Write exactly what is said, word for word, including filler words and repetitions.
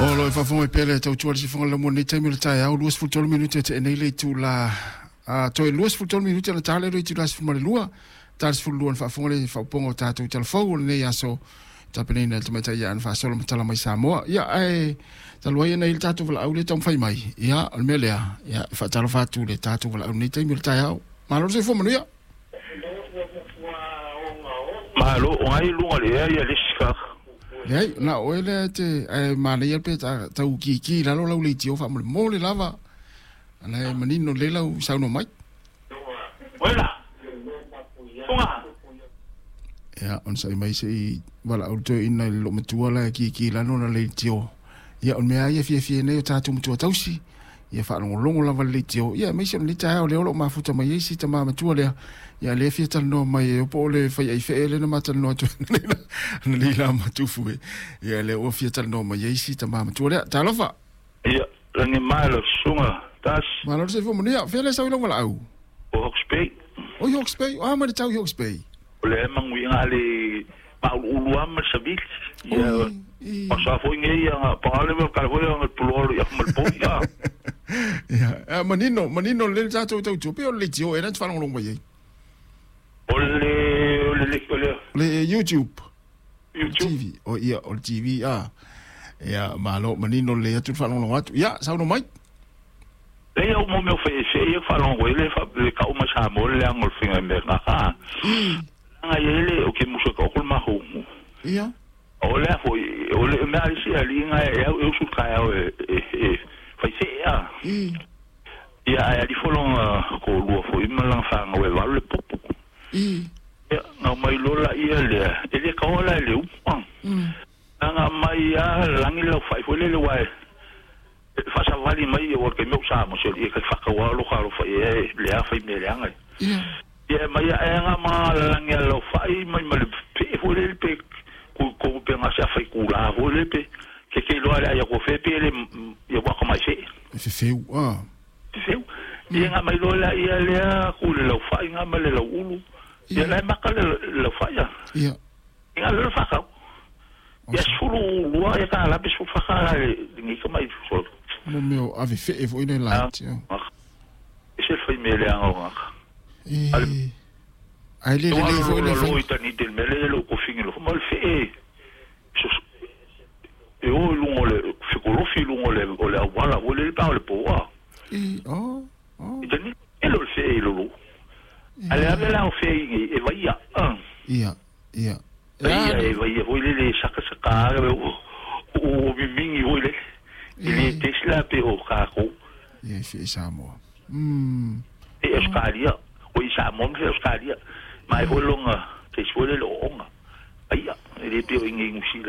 O lo e faafofoga mai pea le tautua le sifoga le lamua nei taimi o le taeao luasefulu tolu minute e teenei le itula a toe luasefulu tolu minute ona ta lea i le itula sefulu ma le lua ta le sefulu lua ona faafofoga le faaopoopoga o tatou talafou o lenei aso tapenaina e le tamaitai ia Ana Faasola ma Tala Mai Samoa. Ia ae talu ai ona i le tatou valaau lea taumafai mai. Ia o le mea lea, ia e faatalofa atu i le tatou valaau lenei taimi o le taeao. Malo le soifua manuia. Malo, o ngai luga le ea ia le isi ka. Leai, na o oe lea e te, ae manaia pe ta, tau kiki i lalo lau leitio faamolemole lava. Ala e manino lelei lau saunoa mai. Oela! Funga! Ia, onosai mai se i valaau le toeaina i le loomatua la e kiki i lalo ona leitio. Ia, o le mea lava ia e fiafia ai o tatou matua tausi, ia faalogologo lava le leitio. Ia, aemaise o lenei taeao lea o lo o mafuta mai ai si tama matua lea. Ia, lea e fia talanoa mai e po o le faiaifee lea na ma talanoa atu ai analeila ma Tufu e. Ia, lea ua fia talanoa mai ai si tama matua lea. Talofa! Ia, lagi mai lau susuga Tasi. Malo le soifua manuia. Fea lea sau i lau valaau? O Hawke's Bay. O i Hawke's Bay. O a mai le tau i Hawke's Bay? O lea e manuia a le mauluulu lava ma le savili. Ia, o sa foi nei ia pa le mea ka foi ia pulo ia ma le po ia. Ia, manino, manino le tatou tautua pe o le leitio e na te faalogologo mai ai. O le o le o le le YouTube. YouTube. T V. O ia, o le T V a. Ia, malo manino le atu le faalogologo atu. Ia, saunoa mai. Le ia mo mea fai se ia faalogologo le fa le ka o ma sa mo le angol finga me ka ka. Nga ia le o ke muso ka o ma ho. Ia. O le foi o le mea si ali nga e au su ka au e e fai se ia. Ia ai ali folonga ko lua foi ma langa fa nga we valu le popo. I. Ia nga mai lola ia le e le ka ola le u. Nga mai a langi lo fai foi le le wai. Fa sa vali mai o ke meu sa mo se i ka fa ka wa lo ka lo fai e le a fai me le anga. Ia. Ia mai e nga ma langi lo fai mai ma le pe foi le pe ku ku pe nga sa fai ku la foi le pe ke ke lo ala ia ko fe pe le ia wa ka mai se. E fe feu a. Feu. Ia nga mai lo la ia le a ku le lo fai nga ma le lo ulu. Ia la ma ka le lo fai ia. Ia. Nga le fa ka. Ia sulu lua ia ka la pe su fa ka le ngi ka mai so. Mo meo ave fe e foi le la. E se fai me le anga nga. E ai le le foi le lo itani del mele lo ko fingi lo mo le fe e. E o lungo le fe ko lo fi lungo le o le wala o le pa le po a. E o o. Itani e lo fe e lo lo. Ale ave la o fe e vai ia. Ia ia. Ia e vai ia foi le le saka saka o o mingi foi le. Le Tesla pe o ka ko. Ia fe Samoa. Mm. E Australia. O i Samoa fe Australia. Mai foi longa te foi le onga. Ai le pe o ingi ngusila